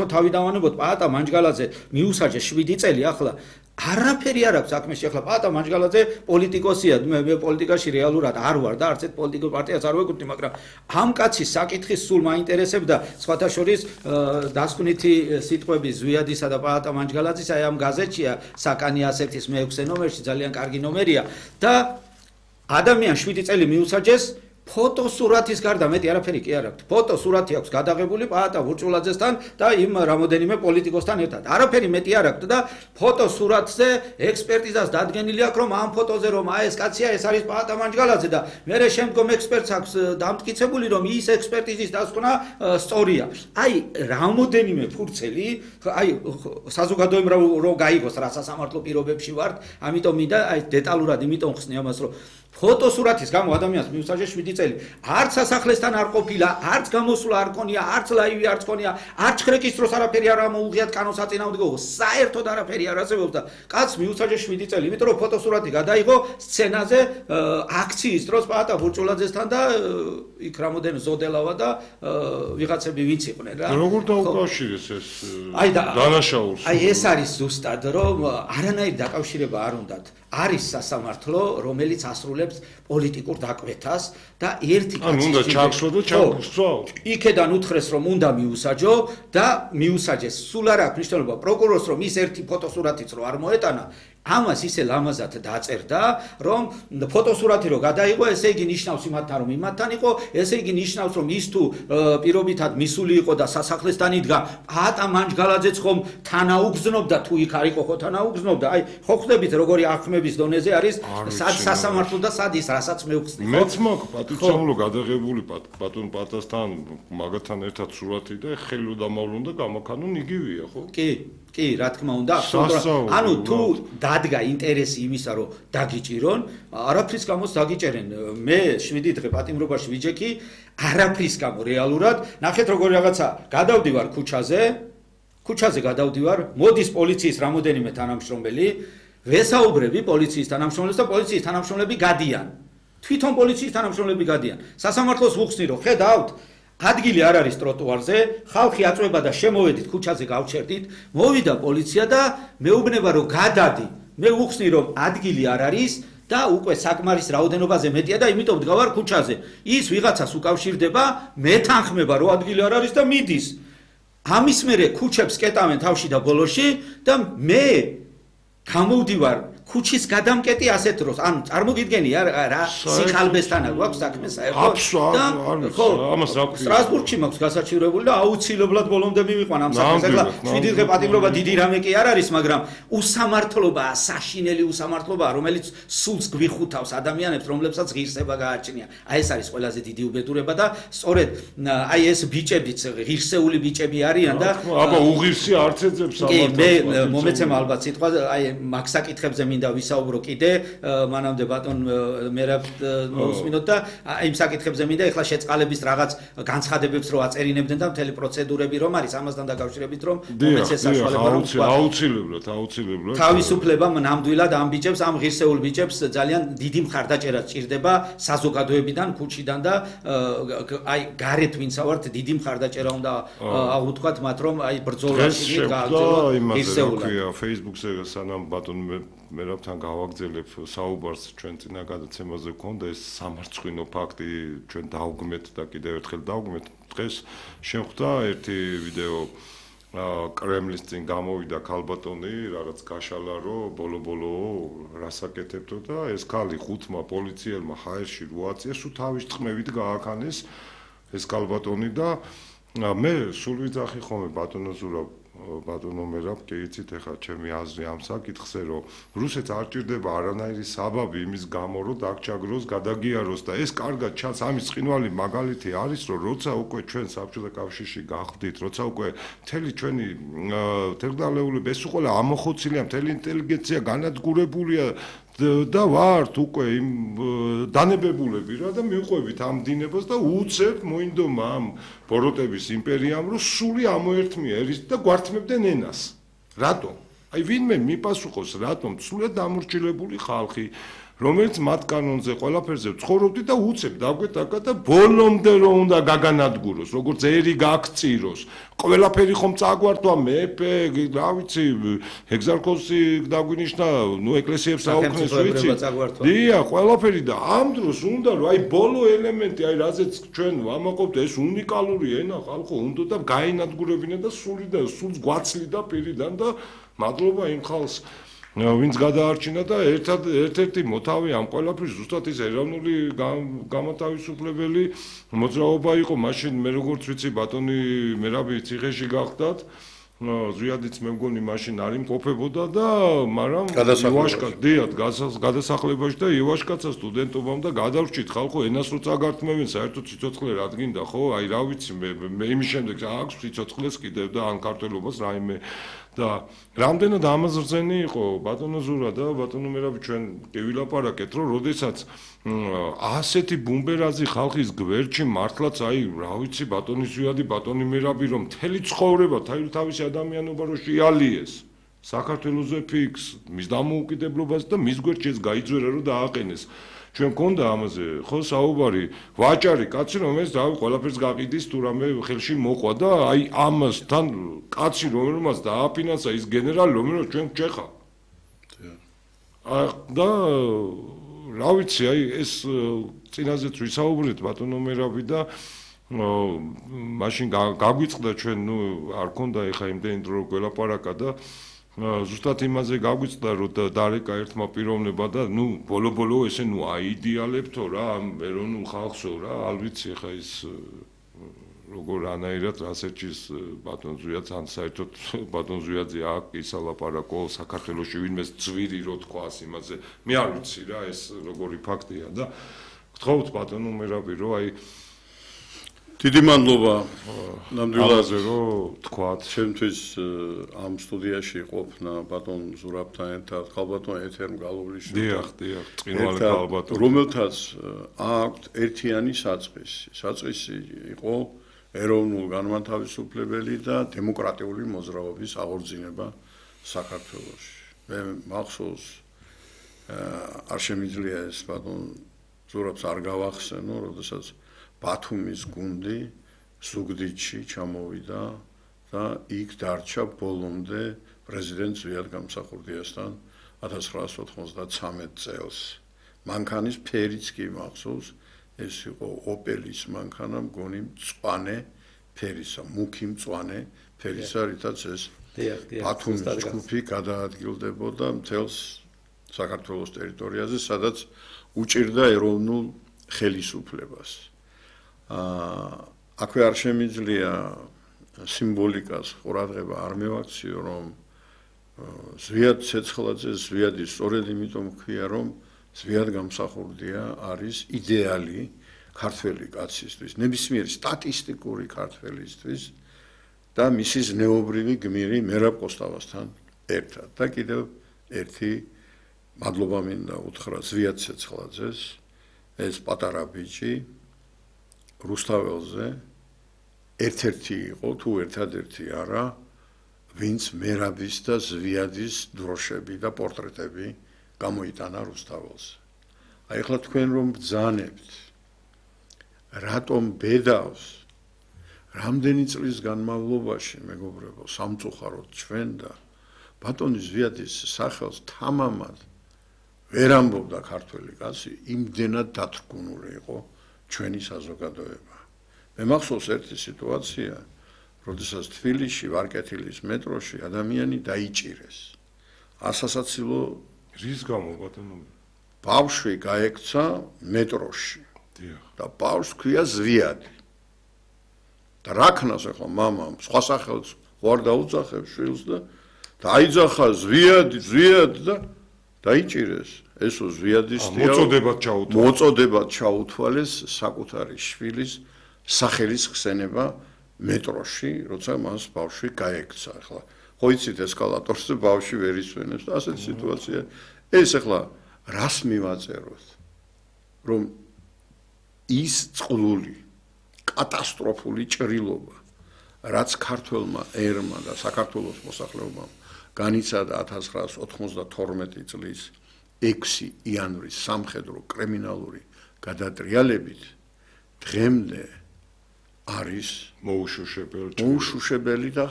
თავიდანვანებოდ პაატა მანჯგალაძე მიუსაჯეს 7 წელი ახლა არაფერი არ აქვს საქმეში ახლა პაატა მანჯგალაძე პოლიტიკოსია მე პოლიტიკაში რეალურად არ ვარ და არც ერთ პოლიტიკურ პარტიას არ ვეკუთვნი მაგრამ ამ კაცის საკითხის სულ მაინტერესებდა სხვათა შორის დასკვნითი სიტყვები ზვიადისა და პაატა მანჯგალაძის აი ამ გაზეთშია საკანი 101-ის მე-6 ნომერში ძალიან კარგი ნომერია და ადამიანს 7 წელი მიუსაჯეს ფოტოსურათის გარდა მეტი არაფერი კი არ აქვს. ფოტოსურათი აქვს გადაღებული პაატა ვურჭულაძესთან და იმ რამოდენიმე პოლიტიკოსთან ერთად. არაფერი მეტი არ აქვს და ფოტოსურათზე ექსპერტიზას დადგენილი აქვს რომ ამ ფოტოზე რომ აი ეს კაცია ეს არის პაატა მანჯგალაძე და მერე შემდგომ ექსპერტს აქვს დამტკიცებული რომ ის ექსპერტიზის დასკვნა სწორია. აი რამოდენიმე ფურცელი აი საზოგადოებამ რო გაიგოს რა სასამართლო პირობებში ვართ, ამიტომ მინდა აი დეტალურად იმიტომ ხსნი ამას რომ ფოტოსურათის გამო ადამიანს მიუსაჯეს 7 წელი. არც სასახლესთან არ ყოფილა, არც გამოსვლა არ ქონია, არც ლაივი არც ქონია, არც რეგისტროს არაფერი არ მოუღიათ კანონსაწინააღმდეგო, საერთოდ არაფერი არ არსებობს და კაც მიუსაჯეს 7 წელი, იმიტომ რომ ფოტოსურათი გადაიღო სცენაზე აქციის დროს პაატა ვურჭულაძესთან და იქ რამოდენ ზოდელავა და ვიღაცები ვინც იყვნენ რა. როგორ დაუკავშირეს ეს დანაშაულს? აი ეს არის ზუსტად რომ არანაირი დაკავშირება არ უნდათ. არის სასამართლო, რომელიც ასრულებს პოლიტიკურ დაკვეთას და ერთი კაცი უნდა ჩაგსვა და ჩაგსვა. იქედან უთხრეს რომ უნდა მიუსაჯო და მიუსაჯეს. სულ არ აქვს მნიშვნელობა პროკურორს რომ ის ერთი ფოტოსურათიც რო არ მოეტანა ამას ისე ლამაზად დაწერდა, რომ ფოტოსურათი რო გადაიღო, ესე იგი ნიშნავს იმათთან რომ იმათთან იყო, ესე იგი ნიშნავს რომ ის თუ პირობითად მისული იყო და სასახლესთან იდგა, პაატა მანჯგალაძეც ხომ თანაუგზნობდა თუ იქ არ იყო ხო თანაუგზნობდა. აი, ხო ხვდებით როგორი აღქმების დონეზე არის სად სასამართლო და სად ის რასაც მეუხსნი. მეც მაქვს პატივცემულო გადაღებული ბატონ პატასთან მაგათთან ერთად სურათი და ხელი დამავლონ და გამაქანონ იგივეა ხო? კი, რა თქმა უნდა, ანუ თუ დადგა ინტერესი იმისა, რომ დაგიჭირონ, არაფრის გამოც დაგიჭერენ. მე 7 დღე პატიმრობაში ვიჯექი, არაფრის გამო რეალურად, ნახეთ როგორ რაღაცა, გადავდივარ ქუჩაზე გადავდივარ, მოდის პოლიციის რამოდენიმე თანამშრომელი, ვესაუბრები პოლიციის თანამშრომლებს და პოლიციის თანამშრომლები გადიან. თვითონ პოლიციის თანამშრომლები გადიან. სასამართლოს ვუხსნი რომ ხედავთ ადგილი არ არის ტროტუარზე, ხალხი აწვება და შემოვედით ქუჩაზე გავჩერდით, მოვიდა პოლიცია და მეუბნება რომ გადადი. მე ვუხსნი რომ ადგილი არ არის და უკვე საკმარის რაოდენობაზე მეტია და იმიტომ ვდგავარ ქუჩაზე. ის ვიღაცას უკავშირდება, მეთანხმება რომ ადგილი არ არის და მიდის. ამის მერე ქუჩებს კეტავენ თავში და ბოლოში და მე გამოვდივარ ქუჩის გადამკეტი ასეთ დროს, ანუ წარმოგიდგენი რა სიხალბესთან გვაქვს საქმე საერთოდ. ხო, ამას რა ქვია? სტრასბურგში მაქვს გასაჩივრებული და აუცილებლად ბოლომდე მივიყვან ამ საქმეს. ახლა 7 დღე პატიმრობა დიდი რამე კი არ არის, მაგრამ უსამართლობაა, საშინელი უსამართლობაა, რომელიც სულს გვიხუთავს ადამიანებს, რომლებსაც ღირსება გააჩნია. აი ეს არის ყველაზე დიდი უბედურება და სწორედ აი ეს ბიჭებიც ღირსეული ბიჭები არიან და აბა უღირსი არც ეძებს სამართლოს. კი, მე მომეცემა ალბათ სიტყვა, აი მაგ საკითხებზე მინდა ვისაუბრო კიდე, მანამდე ბატონ მერაბ მოусმინოთ და იმ საკითხებზე მინდა ეხლა შეწყალების რაღაც განცხადებებს რო აწერინებდნენ და მთელი პროცედურები რომ არის ამასთან დაკავშირებით რომ მომეცეს საშუალება რომ აუცილებლად თავისუფლებამ ნამდვილად ამ ბიჭებს, ამ ღირსეულ ბიჭებს ძალიან დიდი მხარდაჭერა სჭირდება საზოგადოებიდან, ქუჩიდან და აი გარეთ ვინცა ვართ დიდი მხარდაჭერა უნდა აღვთქვათ მათ რომ აი ბრძოლაში გააგრძელოთ ღირსეულად. Facebook-ზე სანამ ბატონ მერაბთან გავაგზელებ საუბარს ჩვენ წინა გადაცემაზე გქონდა ეს სამარცხვინო ფაქტი ჩვენ დავგმეთ და კიდევ ერთხელ დავგმეთ. დღეს შემხვდა ერთი ვიდეო კრემლის წინ გამოვიდა ქალბატონი რაღაც გაშალა რომ ბოლო რასაკეთებდო და ეს ქალი ხუთმა პოლიციელმა ჰაერში როაწიეს თუ თავის წმევით გააქანეს ეს ქალბატონი და მე სულ ვიძახი ხოლმე ბატონო ზურაბ ბატონო მერაბ კი იცით ახლა ჩემი აზრი ამ საკითხზე რომ რუსეთს არ ჭირდება არანაირი საბაბი იმის გამო რომ დაგჭაგროს გადაგიაროს და ეს კარგად ჩანს ამის ცხინვალი მაგალითი არის რომ როცა უკვე ჩვენ საბჭოთა კავშირში გავხდით როცა უკვე მთელი ჩვენი თერგდალეულები ეს უყოლა ამოხოცილია მთელი ინტელიგენცია განადგურებულია და ვართ უკვე იმ დანებებულები რა და მივყვებით ამ დინებას და უცებ მოინდომა ამ ბოროტების იმპერიამ რომ სული ამოერთმია ერის და გვართმევდნენ ენას. რატომ? აი ვინმე მიპასუხოს რატომ სულად დამორჩილებული ხალხი რომელიც მათ კანონზე ყველაფერზე ცხოვრობდი და უცებ დაგვეთაკა და ბოლომდე რომ უნდა გაგანადგუროს, როგორც ერი გაქციროს. ყველაფერი ხომ წაგვართვა მეფე, რა ვიცი, ეგზარქოსი დაგვინიშნა, ეკლესიებს აუქმეს, ვიცი. დია, ყველაფერი და ამ დროს უნდა რომ აი ბოლო ელემენტი, აი რაზეც ჩვენ ვამაყობთ, ეს უნიკალური ენა ხალხო უნდა და გაენადგურებინა და სულს გვაცლიდა პირიდან და მადლობა იმ ხალხს ვინც გადაარჩინა და ერთ-ერთი მოთავე ამ ყველაფრის ზუსტად ის ეროვნული გამოთავისუფლებელი მოძრაობა იყო მაშინ მე როგორც ვიცი ბატონი მერაბი ციხეში გახდათ ზვიადიც მე მგონი მაშინ არ იმყოფებოდა და მაგრამ გადასახლებაში და ივაშკაცა სტუდენტობამ და გადავრჩით ხალხო ენას რო წაგართმევენ საერთოდ სიცოცხლე რადგინდა ხო აი რა ვიცი მე იმის შემდეგ აქვს სიცოცხლეს კიდევ და ან ქართველობას რაიმე და რამდენად ამაზრზენი იყო ბატონო ზურა და ბატონო მერაბი ჩვენ კი ვილაპარაკეთ რომ როდესაც ასეთი ბუმბერაზი ხალხის გვერდში მართლაც აი რა ვიცი ბატონი ზვიადი ბატონი მერაბი რომ მთელი ცხოვრება თავისი ადამიანობა რო შეალიეს საქართველოზე ფიქს მის დამოუკიდებლობას და მის გვერდში ეს გაიძვერა რომ დააყენეს ჩვენ გქონდა ამაზე ხო საუბარი ვაჭარი კაცი რომელიც და ყველაფერს გაყიდის თუ რამე ხელში მოყვა და აი ამასთან კაცი რომელმაც დააფინანსა ის გენერალი რომელიც ჩვენ გჭეხა და რა ვიცი აი ეს წინაზეც ვისაუბრეთ ბატონო მერაბი და მაშინ გაგვიწყდა ჩვენ ნუ არ ქონდა ეხა იმდენი დრო გველაპარაკა და ზუსტად იმაზე გაგვიწყდა რომ დარეკა ერთმა პიროვნება და ნუ ბოლო ესე ნუ აიდეალებთო რა ამ ეროვნულ ხალხსო რა არ ვიცი ეხა ის როგორ ანაირად რასერჩის ბატონ ზვიადს ან საერთოდ ბატონ ზვიადზე აქ ისალაპარაკო საქართველოში ვინმეს ძვირი რო თქვას იმაზე მე არ ვიცი რა ეს როგორი ფაქტია და გთხოვთ ბატონო მერაბი რომ აი დიდი მადლობა ნამდვილად რომ თქვათ ჩემთვის ამ სტუდიაში ყოფნა ბატონ ზურაბთან ერთად ხალბატონ ეთერ მგალობლის დიახ წინვალე ხალბატონ რომელთაც აქვთ ერთიანი საწყისი იყო ეროვნულ განმათავისუფლებელი და დემოკრატიული მოძრაობის აღორძინება საქართველოში მე მახსოვს არ შემიძლია ეს ბატონ ზურაბს არ გავახსენო როდესაც ბათუმის გუნდი ზუგდიდში ჩამოვიდა და იქ დარჩა ბოლომდე პრეზიდენტ ზვიად გამსახურდიასთან 1993 წელს. მანქანის ფერიც კი მახსოვს, ეს იყო ოპელის მანქანა, მგონი მწვანე ფერისა, მუქი მწვანე ფერისა, რითაც ეს ბათუმის ჯგუფი გადაადგილდებოდა მთელს საქართველოს ტერიტორიაზე, სადაც უჭირდა ეროვნულ ხელისუფლებას. აქვე არ შემიძლია სიმბოლიკას ყურადღება არ მევაქციო რომ ზვიად ცეცხლაძე ზვიადის სწორედ იმიტომ ქვია რომ ზვიად გამსახურდია არის იდეალი ქართველი კაცისთვის ნებისმიერი სტატისტიკური ქართველისთვის და მისი ზნეობრივი გმირი მერაბ კოსტავასთან ერთად და კიდევ ერთი მადლობა მინდა უთხრა ზვიად ცეცხლაძეს ეს პატარა ბიჭი რუსთაველზე ერთ-ერთი იყო თუ ერთადერთი არა ვინც მერაბის და ზვიადის დროშები და პორტრეტები გამოიტანა რუსთაველზე. აი ახლა თქვენ რომ ბრძანებთ რატომ ბედავს რამდენი წლის განმავლობაში მეგობრებო სამწუხაროდ ჩვენ და ბატონი ზვიადის სახელს თამამად ვერ ამბობდა ქართველი კაცი იმდენად დათრგუნული იყო ჩვენი საზოგადოება. მე მახსოვს ერთი სიტუაცია, როდესაც თბილისში ვარკეთილის მეტროში ადამიანი დაიჭირეს. ასასაცილო რის გამო ბატონო? ბავშვი გაექცა მეტროში. და ბავშვს ქვია ზვიადი. და რა ქნას ახლა მამამ სხვა სახელს ვარ დაუძახებს შვილს და დაიძახა ზვიადი და დაიჭირეს. ესო ზვიადისტია მოწოდებად ჩაუთვალეს საკუთარი შვილის სახელის ხსენება მეტროში, როცა მას ბავშვი გაექცა. ახლა ხო იცით ესკალატორზე ბავშვი ვერ ისვენებს და ასეთი სიტუაცია. ეს ახლა რას მივაწეროთ? რომ ის წყლული კატასტროფული ჭრილობა, რაც ქართველმა ერმა და საქართველოს მოსახლეობამ განიცადა 1992 წლის 6 იანვრის სამხედრო კრიმინალური გადატრიალებით დღემდე არის მოუშუშებელი მოუშუშებელი და